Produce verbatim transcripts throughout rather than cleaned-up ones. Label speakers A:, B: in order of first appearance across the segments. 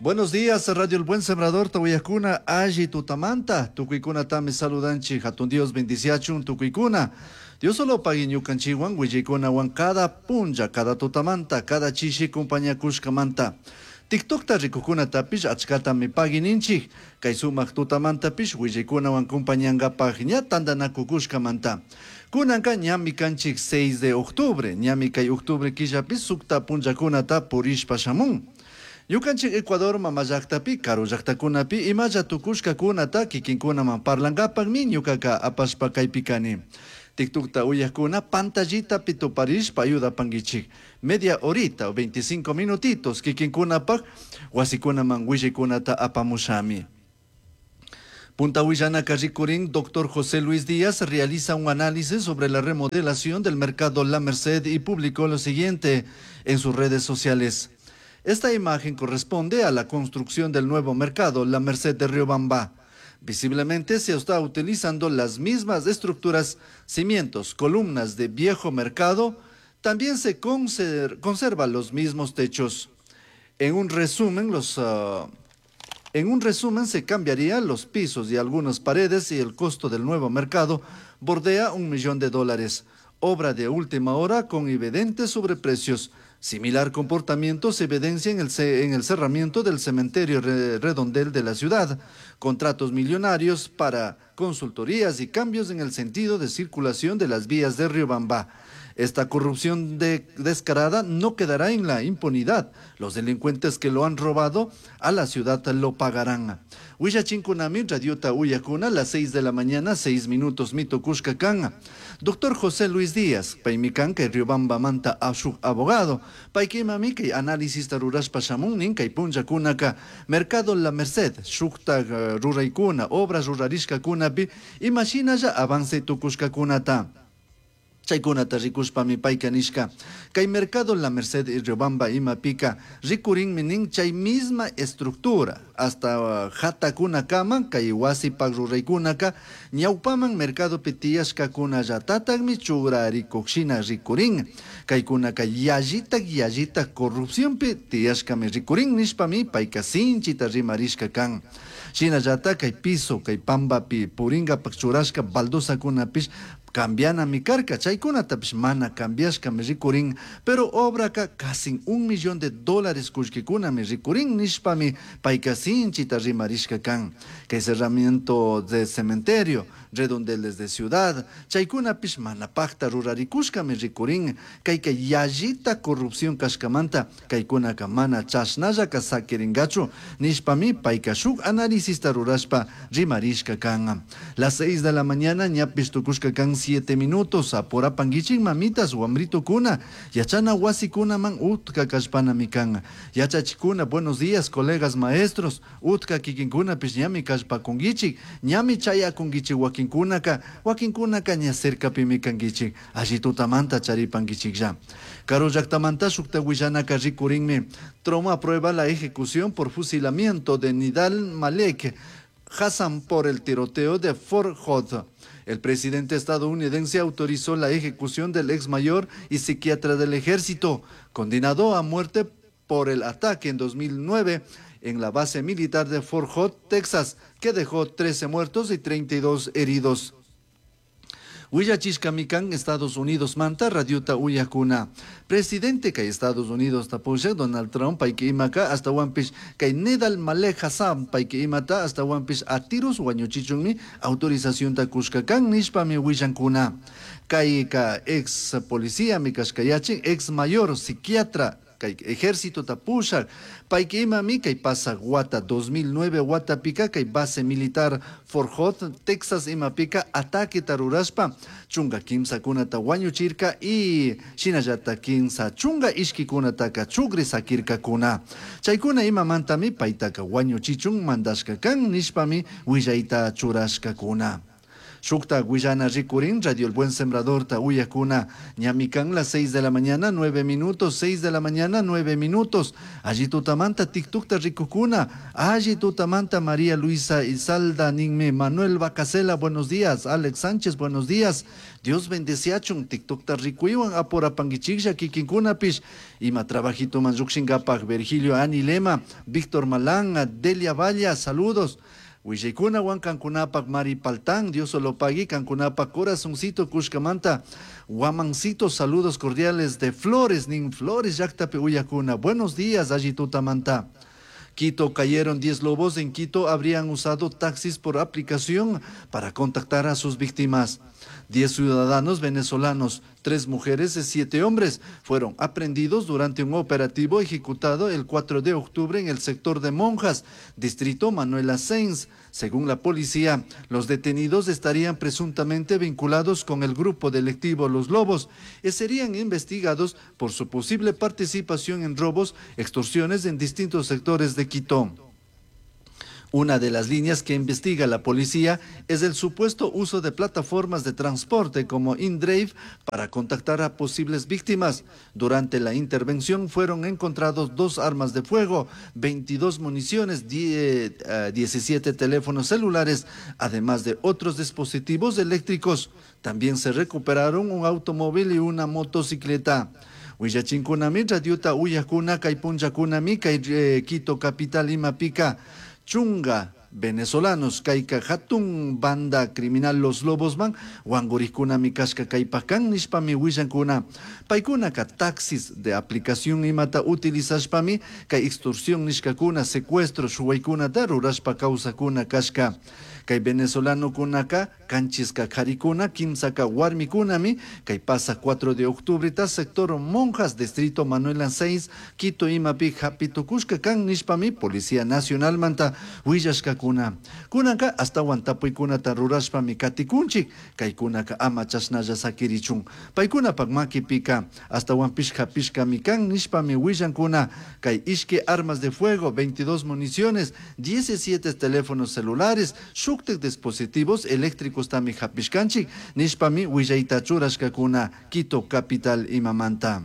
A: Buenos días, Radio El Buen Sembrador, Tawayakuna, Alli Tutamanta, Tukuykuna tami saludanchi, Hatun Dios bendiciachun, Tukuykuna. Dios solo pagui ñukanchiwan, willaykunawan cada punlla, cada tutamanta, cada chishi compañakushkamanta. TikTokta rikukunatapish achkatami pagui ninchik, kay sumak tutamantapish willaykunawan compañangapaj ña tantanakukushkamanta. Kunanka ñami kanchik seis de octubre, ñami kay octubre killapi sukta punllakunata purishpa shamun. Ñukanchik Ecuador mama llaktapi, karu llaktakunapi imalla tukushkakunata kikinkunaman parlankapakmi ñukaka apashpa kaypi kani. TikTokta uyakuna pantallitapi tuparishpa ayudapankichik. Media horita o veinticinco minutitos kikinkunapak wasikunaman willaykunata apamushami. Punta Huillanaca rikurin, doctor José Luis Díaz realiza un análisis sobre la remodelación del mercado La Merced y publicó lo siguiente en sus redes sociales. Esta imagen corresponde a la construcción del nuevo mercado La Merced de Riobamba. Visiblemente se está utilizando las mismas estructuras, cimientos, columnas de viejo mercado. También se conser-, conservan los mismos techos. En un resumen, los, ah, en un resumen se cambiarían los pisos y algunas paredes y el costo del nuevo mercado bordea un millón de dólares. Obra de última hora con evidentes sobreprecios. Similar comportamiento se evidencia en el ce-, en el cerramiento del cementerio re-, redondel de la ciudad. Contratos millonarios para consultorías y cambios en el sentido de circulación de las vías de Riobamba. Esta corrupción de, descarada no quedará en la impunidad. Los delincuentes que lo han robado a la ciudad lo pagarán. Huillachinkunami, Radiota Uyacuna, las seis de la mañana, seis minutos, Mito Cushcacán. Doctor José Luis Díaz, paimikan kay Riobamba manta ashuk abogado, paikimami kay análisis rurashpa shamunnin kay punllakunaka, Mercado La Merced, shukta, eh, ruraykuna, obras rurarishkakunapi, imashinalla avance tukushkakunata. Chaykunata rikushpami payka nishka. Kay Mercado La Merced y Riobamba imapika rikurinmi nin chay misma estructura hasta, uh, hatakunakama kay wasipak ruraykunaka ñawpaman mercadopi tiyashkakunallatataqmi churarikuqshina rikurin. Kaykunaka yallitak yallitak corrupcionpi tiyashkami rikurin nishpami payka sinchita rimarishka kan. Shinallata kay piso kay pambapi puringapak churashka baldosakunapish cambiana mi carca, chaykunatapish mana cambiashkami rikurin, pero obraka casi un millón de dólares kullkikunami rikurin nishpami payka sinchita rimarishka kan. Kay cerramiento de cementerio, redondeles de ciudad, chaykunapish mana pakta rurarikushkami rikurin, kayka yallita corrupción kashkamanta, kaykunaka mana chashnallaka sakiringachu, nishpami payka shuk análisista rurashpa rimarishka kan. Las seis de la mañana ñapish tukushka kan siete minutos, apurapanguichin mamitas, wamrito kuna, yachana wasi kuna man utka kashpana mikan, yachachikuna, buenos días, colegas maestros, utka kikinkuna pis ñami kashpakunguichik, ñami chayakunguichik wakinkunaka, wakinkunaka ña cerca pimikanguichik, allí tutamanta charipanguichik ya. Karu llaktamanta shukta willanaka rikurinmi, Trump aprueba la ejecución por fusilamiento de Nidal Malek Hassan por el tiroteo de Fort Hood. El presidente estadounidense autorizó la ejecución del ex mayor y psiquiatra del ejército, condenado a muerte por el ataque en dos mil nueve en la base militar de Fort Hood, Texas, que dejó trece muertos y treinta y dos heridos. Huillachishkamikan, Estados Unidos manta, radiota uyakuna. Presidente kay Estados Unidos tapusha, Donald Trump, payki imaka, hasta wampish, kay Nidal Malek Hassan, payki imata, hasta wampish atiros wañuchichunmi, autorización takushkakan, nishpami huillankuna. Kay ka ex policía, mi kashkayachin, ex mayor, psiquiatra, kay ejército tapusha, payki imami, kay pasa guata dos mil nueve guata pica, kay base militar Fort Hood, Texas imapika, ataque tarurashpa, chunga kimsa kunata wañuchirka y shinallata kimsa chunga ishki kunataka chugri sakirka kuna. Chaykuna imamantami paytaka wañuchichun mandashka kan nishpami willayta churashka kuna. Shukta huillana rikurin Radio El Buen Sembradorta uyakuna ñami kan las seis de la mañana nueve minutos, seis de la mañana nueve minutos. Alli tutamanta TikTokta rikukuna, alli tutamanta María Luisa Isalda ninmi, Manuel Bacasela, buenos días, Alex Sánchez, buenos días. Dios bendeciachun TikTokta rikuywan apurapankichiklla kikinkunapish ima trabajitoman llukshinkapak. Virgilio Anilema, Víctor Malán, Delia Valla, saludos. Willaykuna kankunapak Mari Paltán, Dios lo pague, kankunapak corazoncito kushkamanta, Guamancito, saludos cordiales de Flores, nin Flores llaktapi uyakuna. Buenos días, alli tutamanta. Quito cayeron diez lobos. En Quito habrían usado taxis por aplicación para contactar a sus víctimas. Diez ciudadanos venezolanos, tres mujeres y siete hombres fueron aprehendidos durante un operativo ejecutado el cuatro de octubre en el sector de Monjas, distrito Manuel Asens. Según la policía, los detenidos estarían presuntamente vinculados con el grupo delictivo Los Lobos y serían investigados por su posible participación en robos, extorsiones en distintos sectores de Quito. Una de las líneas que investiga la policía es el supuesto uso de plataformas de transporte como InDrive para contactar a posibles víctimas. Durante la intervención fueron encontrados dos armas de fuego, veintidós municiones, die-, eh, diecisiete teléfonos celulares, además de otros dispositivos eléctricos. También se recuperaron un automóvil y una motocicleta. Huillachinkunami, radiota uyakuna, kay punllakunami, kay, eh, Quito capital imapika. Chunga venezolanos kayka hatun banda criminal Los Lobos man wangurikunami kashka kaypakan nishpami willankuna. Paykunaka taxis de aplicación imata utilizashpami kay extorsión nishkakuna, secuestro shuwaykunata rurashpa kawsakuna kashka. Kay venezolanokunaka kanchiska karikuna, kimsaka warmikunami kay pasa cuatro de octubre ta sector Monjas, distrito Manuel Anséis, Quito imapi hapitukushka kan nishpami Policía Nacional manta willashkakuna. Kunanka astawan tapuykunata rurashpami katikunchik, kaykunaka ama chashnalla sakirichun. Paykunapak makipika astawanpish hapishkami kan nishpami willankuna. Kay ishki armas de fuego, veintidós municiones, diecisiete teléfonos celulares, shuktik dispositivos eléctricos tami hapishkanchik nishpami willayta churashkakuna Quito capital imamanta.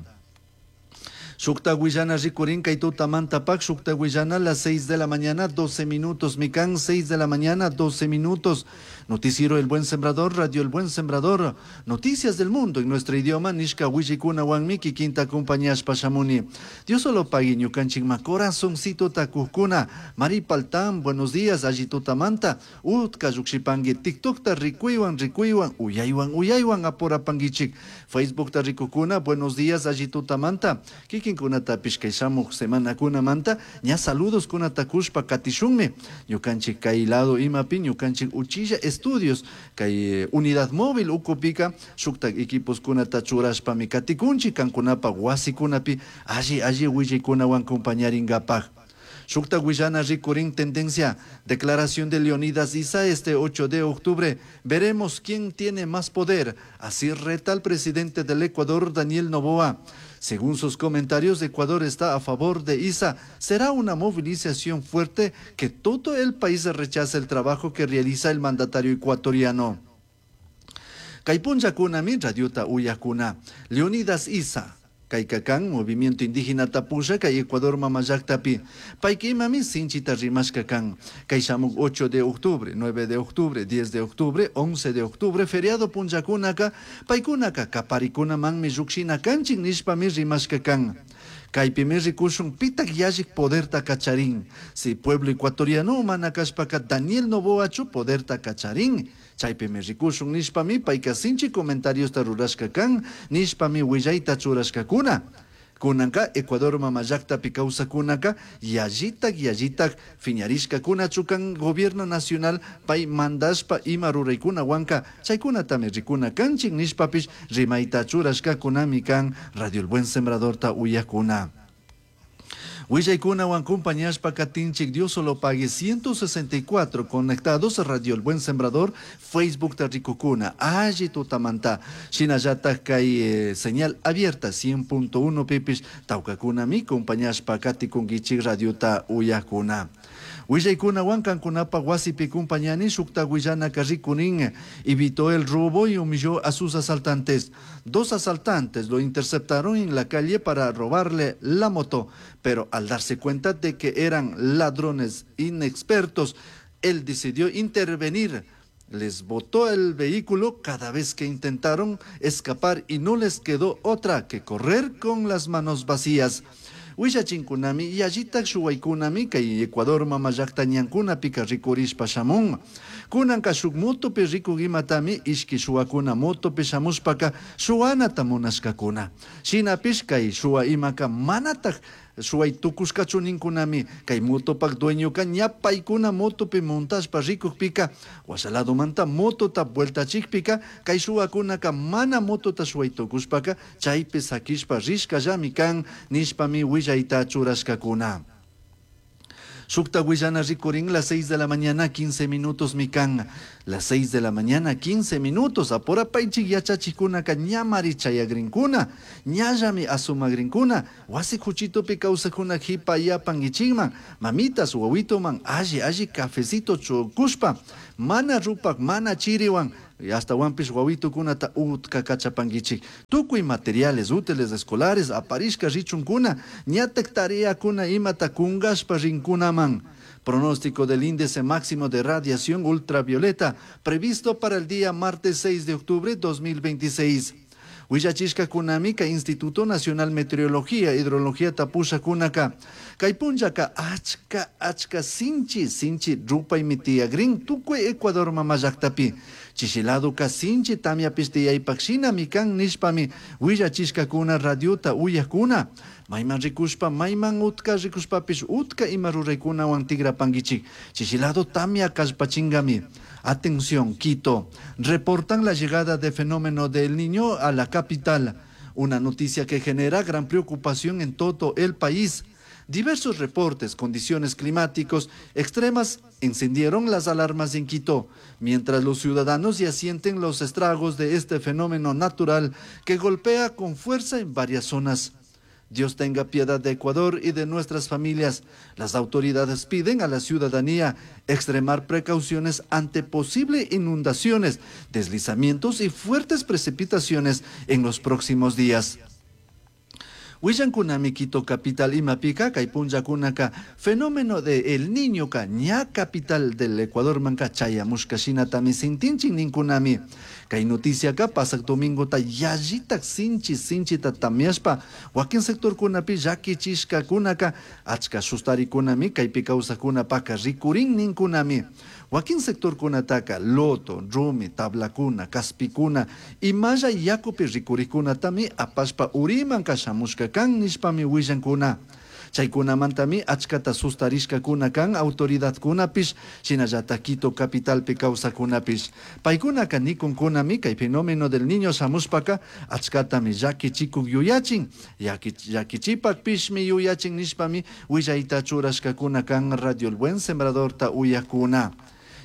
A: Shukta Guillana rikurin kay tutamanta pak, Shukta Guillana las seis de la mañana, doce minutos, Mikan, seis de la mañana, doce minutos. Noticiero El Buen Sembrador, Radio El Buen Sembrador, noticias del mundo en nuestro idioma, Nishka Willikuna Wanmiki, quinta compañía Pashamuni. Dios solo pague ñukanchikma corazoncito takukuna. Mari Paltán, buenos días, allí tutamanta, Utka Yukshipangi, TikTok ta rikuiwan, rikuiwan, uyaywan, uyaywan, aporapangichik. Facebook ta rikukuna, buenos días, allí tutamanta, Kikin kunatapish kay shamuq semana kunamanta, ña saludos kunatakushpa katishunmi. Ñukanchik kay lado imapi, ñukanchik uchilla estudios, kay, eh, unidad móvil ukupika, shuktak equipos kunata churashpami katikunchik, kankunapa wasikunapi, alli, alli willaykunawan compañaringapaj. Shukta Guillana rikurin tendencia, declaración de Leonidas Iza este ocho de octubre. Veremos quién tiene más poder. Así reta al presidente del Ecuador, Daniel Noboa. Según sus comentarios, Ecuador está a favor de Iza. Será una movilización fuerte que todo el país rechaza el trabajo que realiza el mandatario ecuatoriano. Kaypunchakuna radiota uyakuna. Leonidas Iza. Kaykakan, movimiento indígena tapusha, kay Ecuador mamallaktapi. Paykimami sinchita rimashka kan. Kay shamuk ocho de octubre, nueve de octubre, diez de octubre, once de octubre, feriado punchakunaka, paykunaka kaparikuna manmi llukshina kanchin nishpami rimashka kan. Kaypimi rikushun pitak yallik poderta kacharin. Si pueblo ecuatoriano mana kashpaka Daniel Noboachu poderta kacharin. Chaypimi rikushun nishpami payka sinchi comentarios rurashka kan, nishpami willayta churashkakuna. Kunanka Ecuador mamallaktapi kawsakunaka yallitak yallitak fiñarishkakuna chukan gobierno nacional pay mandashpa ima ruraykuna wanka chaykunatami rikuna kanchik nishpapish rimayta churashkakunami kan Radio El Buen Sembradorta uyakuna. Willaykunawan compañashpa katinchik Dios solo pague ciento sesenta y cuatro conectados a Radio El Buen Sembrador, Facebook Tarricocuna, alli tutamanta, shinallata kay, eh, señal abierta cien punto uno pipis, taucacuna mi compañashpa katikunkichik radiota uyakuna. Willaykunawan kankunapaq wasipi kumpañani shukta willanaka rikurin. Evitó el robo y humilló a sus asaltantes. Dos asaltantes lo interceptaron en la calle para robarle la moto, pero al darse cuenta de que eran ladrones inexpertos, él decidió intervenir. Les botó el vehículo cada vez que intentaron escapar y no les quedó otra que correr con las manos vacías. Willachinkunami yallitak shuwaykunami kay Ecuador mama llakta ñankunapika rikurishpa shamun. Kunanka shuk motopi rikuk imatami ishki shuwakuna motopi shamushpaka shuwanata munashkakuna. Shinapish kay shuwa imaka manatak shuway tukushkachu ninkunami kay motopak dueñoka ña paykuna motopi montashpa rikukpika washa ladomanta motota vueltachikpika kay shuwakunaka mana motota shuway tukushpaka chaypi sakishpa rishkallami kan nishpami willayta churashkakuna. Shukta willana rikurin las seis de la mañana quince minutos mi kan. Las seis de la mañana quince minutos. Apurapaychik yachachikunaka ñamari chayagrinkuna. Ñallami asumagrinkuna. Wasi kuchitupi kawsakuna hipayapankichikman. Mamitas wawituman alli alli cafecito chukushpa. Mana rupak mana chiriwan. Astawanpish wawitukunata utka kachapankichik. Tukuy materiales útiles escolares aparishka richunkuna. Ñatak tareakuna imata kunkashpa rinkunaman. Pronóstico del índice máximo de radiación ultravioleta previsto para el día martes seis de octubre dos mil veintiséis. Willachishka kunami kay Instituto Nacional Meteorología Hidrología tapusha kunaka. Kay punllaka achka achka sinchi sinchi rupaymi tiyagrin tukuy Ecuador mama llaktapi. Chishiladuka sinchi tamyapish tiyaypak shinami kan nishpami willachishkakuna radiota uyakuna. Mayman rikushpa, mayman utka rikushpapish utka ima ruraykunawan tigrapankichik. Chishilado tamya kallpachingami. Atención, Quito. Reportan la llegada de fenómeno del Niño a la capital. Una noticia que genera gran preocupación en todo el país. Diversos reportes, condiciones climáticos extremas encendieron las alarmas en Quito, mientras los ciudadanos ya sienten los estragos de este fenómeno natural que golpea con fuerza en varias zonas. Dios tenga piedad de Ecuador y de nuestras familias. Las autoridades piden a la ciudadanía extremar precauciones ante posibles inundaciones, deslizamientos y fuertes precipitaciones en los próximos días. Willankunami Quito capital imapika kay punllakunaka fenómeno de El Niño ka ña capital del Ecuador manka chayamushka shinatami sintinchin ninkunami. Kay noticia ka pasak domingo ta yallitak sinchi sinchita tamyashpa wakin sectorkunapi llakichishkakunaka achka sustarikunami kaypi kawsakunapaka rikurin ninkunami. Wakin sectorkunataka loto, rumi, tablakuna, kaspikuna imalla yakupi rikurikunatami apashpa uriman kashamushka kan nishpami willankuna. Chaykunamantami achkata sustarishkakuna kan autoridadkunapish shinallata Quito capitalpi kawsakunapish. Paykunaka nikunkunami kay fenómeno del niño shamushpaka achkatami llakichikuk yuyachin. Llakichipakpishmi yuyachin nishpami willayta churashkakuna kan Radio El Buen Sembradorta uyakuna.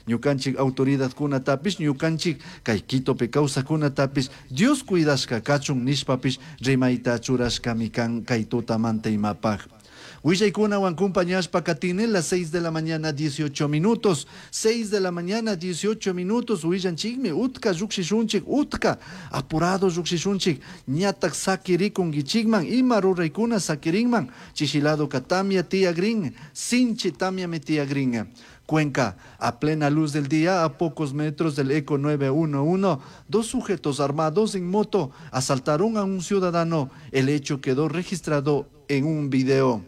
A: Ñukanchik autoridadkunatapish, ñukanchik kay Quitopi kawsakunatapish, Dios cuidashka kachun nishpapish rimayta churashkami kan kay tutamanta imapaj. Willaykunawan kumpañashpa katine las seis de la mañana dieciocho minutos. seis de la mañana dieciocho minutos. Willanchikmi utka llukshishunchik, utka apurado llukshishunchik. Ñatak sakirikunkichikman, ima ruraykuna sakirinman. Chishilado katamia tiyagrin, sinchi tamia tiyagrin. Cuenca, a plena luz del día, a pocos metros del Eco nueve uno uno, dos sujetos armados en moto asaltaron a un ciudadano. El hecho quedó registrado en un video.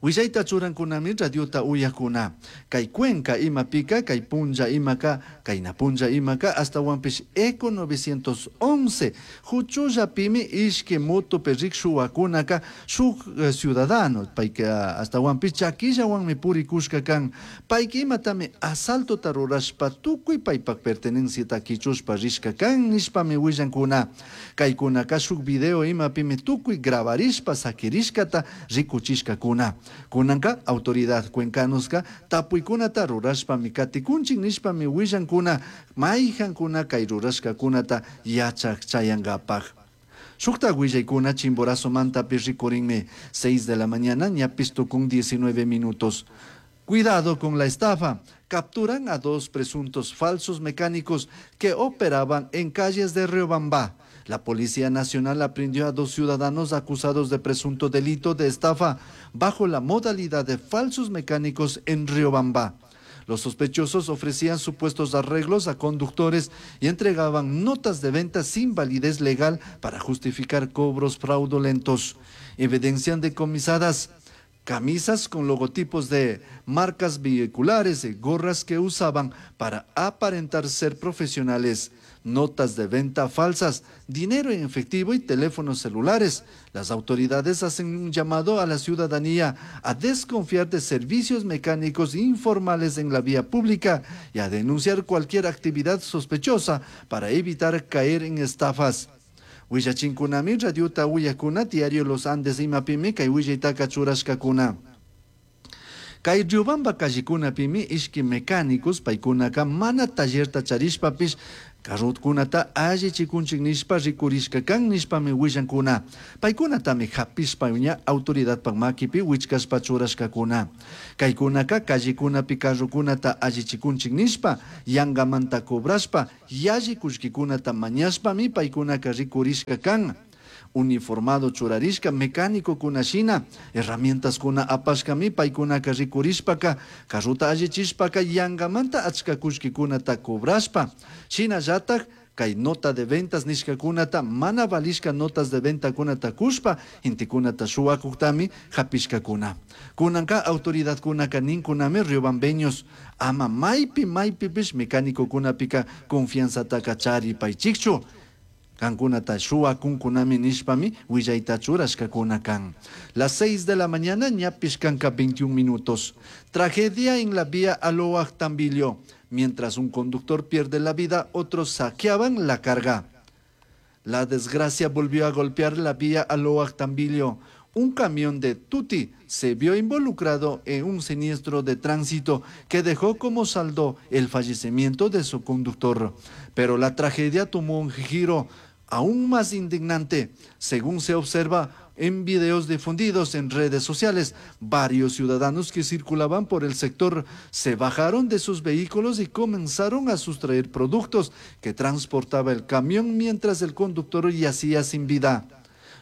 A: Willayta churankunami radiota uyakuna. Kay Cuenca imapika, kay punlla imaka, kay napunlla imaka, hasta wampish Eco novecientos once. Huchullapimi ishki moto perrik shuwakunaka shuk, eh, ciudadano. Payka hasta wampish chakillawanmi purikushka kan. Payka imatami asaltota rurashpa tukuy paypak pertenenciata kichushpa rishka kan nishpami willankuna. Kaykunaka shuk video imapimi tukuy grabarishpa sakirishkata rikuchishkakuna. Kunanka autoridad cuencanuska tapuykunata rurashpami katikunchik nishpami willankuna mayjankuna kay rurashkakunata yachak chayankapaj. Shukta willaykuna Chimborazo mantapi rikurinmi seis de la mañana ñapis tukun diecinueve minutos. Cuidado con la estafa. Capturan a dos presuntos falsos mecánicos que operaban en calles de Riobamba. La Policía Nacional aprehendió a dos ciudadanos acusados de presunto delito de estafa bajo la modalidad de falsos mecánicos en Riobamba. Los sospechosos ofrecían supuestos arreglos a conductores y entregaban notas de venta sin validez legal para justificar cobros fraudulentos. Evidencian decomisadas camisas con logotipos de marcas vehiculares y gorras que usaban para aparentar ser profesionales, notas de venta falsas, dinero en efectivo y teléfonos celulares. Las autoridades hacen un llamado a la ciudadanía a desconfiar de servicios mecánicos informales en la vía pública y a denunciar cualquier actividad sospechosa para evitar caer en estafas. Willachinkunami radiota uyakuna diario Los Andes imapimi kay willaytaka churashkakuna. Kay Riobamba callekunapimi ishki mecánicos paykunaka mana tallerta charishpapish carrokunata allichikunchik nishpa rikurishka kan nishpami willankuna. Paykunatami hapishpa ña autoridadpak makipi wichkashpa churashkakuna. Kaykunaka callekunapi carrokunata allichikunchik nishpa yangamanta cobrashpa yalli kullkikunata mañashpami paykunaka rikurishka kan. Uniformado churarishka mecánico shina herramientaskuna apashkami paykunaka rikurishpaka carrota allichishpaka yangamanta achka kullkikunata cobrashpa shinallatak kay nota de ventas nishkakunata mana valishka notas de ventakunata kushpa gentekunata shuwakuktami hapishkakuna. Kunanka autoridadkunaka ninkunami riobambeños ama maypi maypipish mecánicokunapika confianzataka charipaychikchu. Kankunata shuwakunkunami nishpami willayta churashkakuna kan. Las seis de la mañana ñapish kanka veintiún minutos. Tragedia en la vía Alóag Tambillo. Mientras un conductor pierde la vida, otros saqueaban la carga. La desgracia volvió a golpear la vía Alóag Tambillo. Un camión de Tuti se vio involucrado en un siniestro de tránsito que dejó como saldo el fallecimiento de su conductor. Pero la tragedia tomó un giro aún más indignante. Según se observa en videos difundidos en redes sociales, varios ciudadanos que circulaban por el sector se bajaron de sus vehículos y comenzaron a sustraer productos que transportaba el camión mientras el conductor yacía sin vida.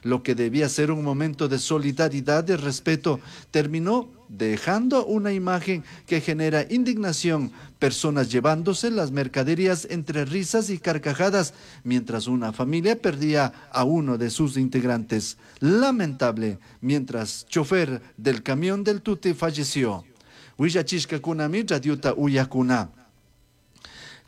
A: Lo que debía ser un momento de solidaridad y respeto terminó dejando una imagen que genera indignación, personas llevándose las mercaderías entre risas y carcajadas, mientras una familia perdía a uno de sus integrantes. Lamentable, mientras chofer del camión del Tuti falleció. Willachishkakunami radiota uyakuna.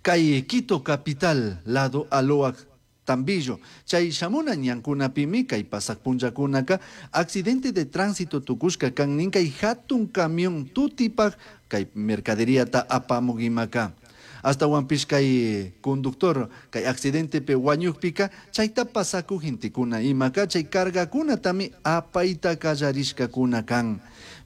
A: Kay Quito capital, lado Alóag Tambillo. Chay shamuna ñankunapimi kay pasaq punllakunaka accidente de tránsito tukushka kan nin kay hatun camión tutipaj kay mercaderíata apamuk imaka. Ashtawanpish kay conductor kay accidentepi wañukpika chayta pasaku gentekuna imaka chay cargakunatami apayta kallarishkakuna kan.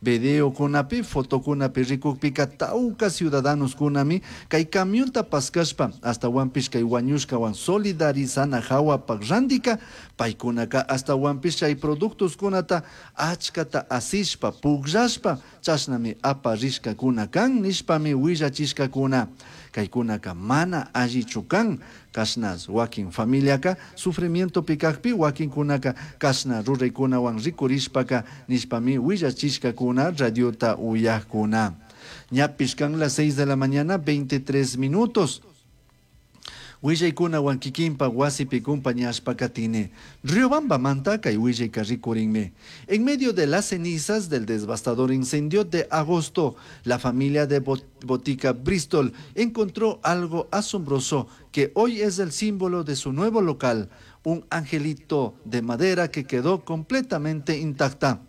A: Videokunapi, fotokunapi rikukpika tawka ciudadanoskunami kay camionta paskashpa ashtawanpish kay wañushkawan solidarizana hawapak randika paykunaka ashtawanpish chay productoskunata achkata asishpa pukllashpa chashnami aparishkakuna kan nishpami willachishkakuna. Kaykunaka mana allichu kan kashna wakin familiaka sufrimientopi kakpi wakinkunaka kashna ruraykunawan rikurishpaka nishpami willachishkakuna radiota uyakuna. Ñapish kan las seis de la mañana veintitrés minutos. Willaykunawan kikinpa wasipi kumpañashpa katini. Riobambamanta kay willayka rikurinmi. En medio de las cenizas del devastador incendio de agosto, la familia de Bot-, Botica Bristol encontró algo asombroso que hoy es el símbolo de su nuevo local, un angelito de madera que quedó completamente intacta.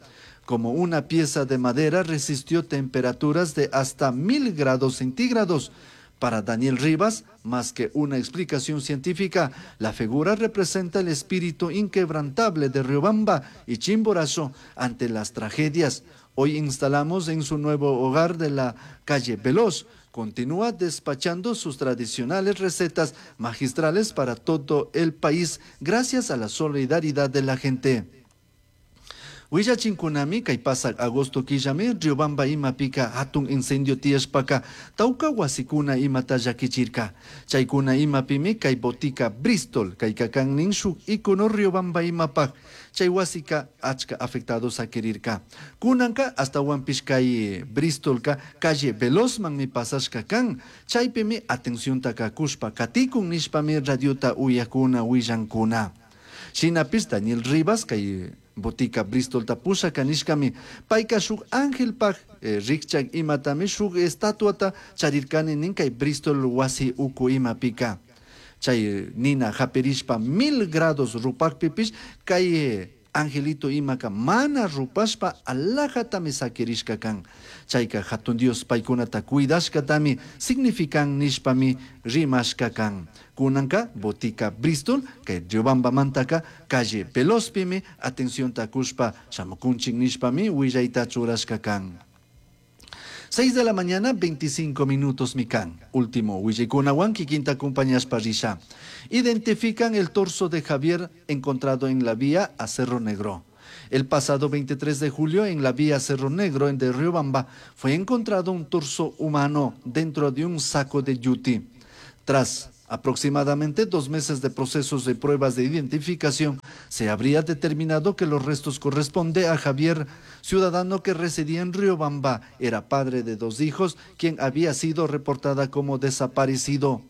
A: Como una pieza de madera resistió temperaturas de hasta mil grados centígrados. Para Daniel Rivas, más que una explicación científica, la figura representa el espíritu inquebrantable de Riobamba y Chimborazo ante las tragedias. Hoy instalamos en su nuevo hogar de la calle Veloz. Continúa despachando sus tradicionales recetas magistrales para todo el país gracias a la solidaridad de la gente. Willachinkunami kay pasak agosto killami Riobamba imapika hatun incendio tiyashpaka tawka wasikuna imata llakichirka. Chaykuna imapimi kay botica Bristol kayka kan nin shuk icono Riobamba imapak chay wasika achka afectado sakirirka. Kunanka ashtawanpish kay Bristolka calle Velozmanmi pasashka kan, chaypimi atenciontaka kushpa katikun nishpami radiota uyakuna willankuna. Shinapish Daniel Rivas kay botica Bristolta pushaka nishkami payka shuk angelpak eh, rikchak imatami shuk estatuata charirkani nin kay Bristol wasi uku imapika. Chay nina hapirishpa mil grados rupakpipish kay eh, angelito imaka mana rupashpa alajatami sakirishka kan. Chayka hatun Dios paykunata cuidashkatami significan nishpami rimashka kan. Kunanka botica Bristol kay Riobambamantaka calle Velozpimi atencionta kushpa shamukunchik nishpami willayta churashka kan. seis de la mañana, veinticinco minutos mikan. Último willaykunawan kikinta acompañashpa risha. Identifican el torso de Javier encontrado en la vía a Cerro Negro. El pasado veintitrés de julio en la vía Cerro Negro en de Riobamba fue encontrado un torso humano dentro de un saco de yuti. Tras aproximadamente dos meses de procesos de pruebas de identificación, se habría determinado que los restos corresponden a Javier, ciudadano que residía en Riobamba, era padre de dos hijos, quien había sido reportada como desaparecido.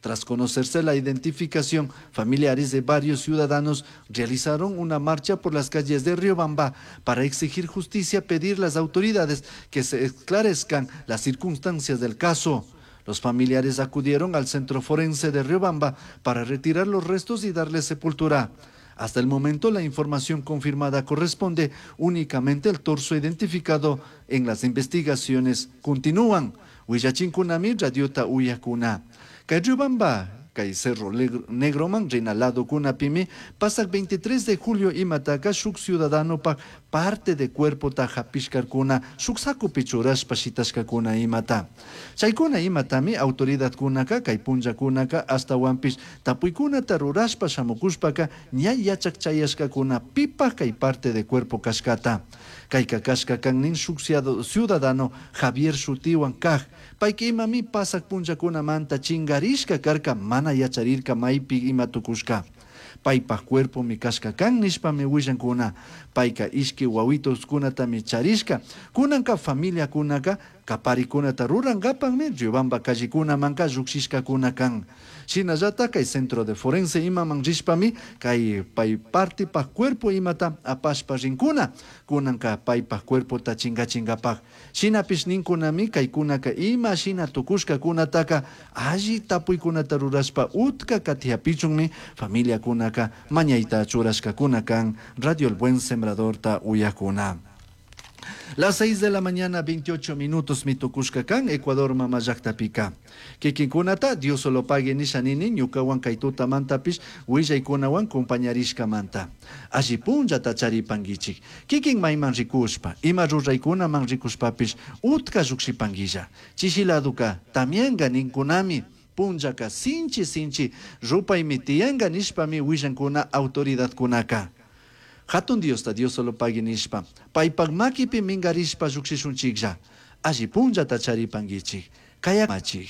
A: Tras conocerse la identificación, familiares de varios ciudadanos realizaron una marcha por las calles de Riobamba para exigir justicia, pedir a las autoridades que se esclarezcan las circunstancias del caso. Los familiares acudieron al centro forense de Riobamba para retirar los restos y darle sepultura. Hasta el momento, la información confirmada corresponde únicamente al torso identificado en las investigaciones. Continúan. Willachinkunami radiota uyakuna. Kay Riobamba, kay Cerro Negroman, rinalado kunapimi, pasak veintitrés de julio imataka shuk ciudadano pa parte de cuerpo ta hapishkarkuna, shuk sakupi churashpa shitashkakuna imata. Chaykuna imatami autoridadkunaka, kay punllakunaka, ashtawanpish tapuykunata rurashpa shamukushpaka, ña yachak chayashkakuna pipa kay parte de cuerpo kashkata. Kayka kashka kan nin shuk ciudadano Javier shutiwan kaj, payka imami pasak punllakunamanta chingarishka karka mana yacharirka maypi ima tukushka. Paypaj cuerpo mi kashka kan nishpami willankuna. Payka ishki wawitoskunatami charishka. Kunanka familiakunaka kaparikunata rurankapanmi Riobamba callekunamanka llukshishkakuna kan. Shinallata kay centro de forense imaman rishpami kay pay partipaj cuerpo imata apashpa rinkuna. Kunanka paypaj cuerpota chingachinkapak. Shinapish ninkunami kaykunaka ima shina tukushkakunataka alli tapuykunata rurashpa utka katiapichunmi familiakunaka mañayta churashkakuna kan. Radio El Buen Sembradorta uyakuna. Las seis de la mañana, veintiocho minutos, mitukushka kan, Ecuador mama llaqtapika. Kikinkunata, Dios solo pague nisha nini, ñukawan kaytuta mantapish, willaykunawan compañarishka manta. Alli punllata charipankichik. Kikin mayman rikushpa, ima ruraykunaman rikushpapish, utka llukshipankilla. Chishiladuka, tamianka ninkunami. Punllaka sinchi sinchi, rupaymi tiyanka nishpami willankuna autoridadkunaka. Hatun Diosta Dios solo pague nishpa, paypak makipi mingarishpa llukshishunchiklla. Alli punllata charipankichik. Kayamachik.